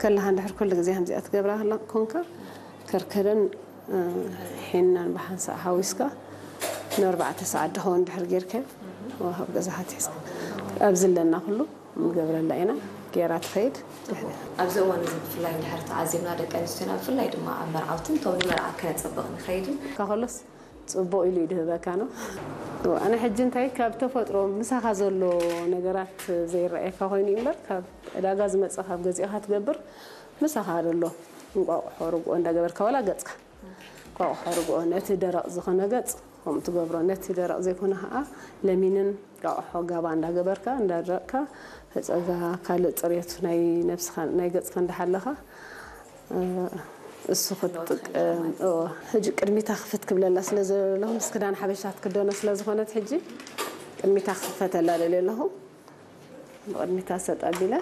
ከለኻ እንድሕር ኩሉ ግዜ ከምዚኣ ትገብራ ከላ ኮንካ ከርከደን እ፣ ሒናን ብሓንሳእ ሓዊስካ ንኣርባዕተ ሰዓት ድኸውን ድሕር ጌርካዮ ወሃብ ገዛ ሓቲስካ ኣብዚ ኣለና ኩሉ ንገብረላ ኢና። ጌራ ትኸይድ። ኣብዚ እዋን እዚ ብፍላይ እንድሕር ተዓዚብና ደቂ ኣንስትዮና ብፍላይ ድማ ኣብ መርዓውትን እቶም ንመርዓ ከነፀብቕ ንኸይድን ካኸሎስ ጽቡቕ ኢሉ ይድህበካ ነው። ኣነ ሕጂ እንታይ ካብ ተፈጥሮ ምሳኻ ዘሎ ነገራት ዘይረኣየካ ኮይኑ እዩ እምበር ካብ ዕዳጋ ዝመፀ ካብ ገዚእኻ ትገብር ምሳኻ ዘሎ እንቋቑሖ ርግኦ እንዳገበርካ ዋላ ገፅካ እንቋቑሖ ርግኦ ነቲ ደረቕ ዝኾነ ገፅ ከምኡ ትገብሮ ነቲ ደረቕ ዘይኮነ ከዓ ለሚንን እንቋቑሖ ጋባ እንዳገበርካ እንዳደረቕካ ፈፀጋ ካልእ ፅሬቱ ናይ ነብስኻ ናይ ገፅካ እንዳሓለኻ እሱ ክትጥቀም ሕጂ ቅድሚታ ክፍት ክብለላ ስለ ዘለኹ ምስ ክዳን ሓበሻ ትክደኖ ስለ ዝኾነት ሕጂ ቅድሚታ ክፈተላ ደልየ ኣለኹ። ብቕድሚታ ሰጥ ኣቢለ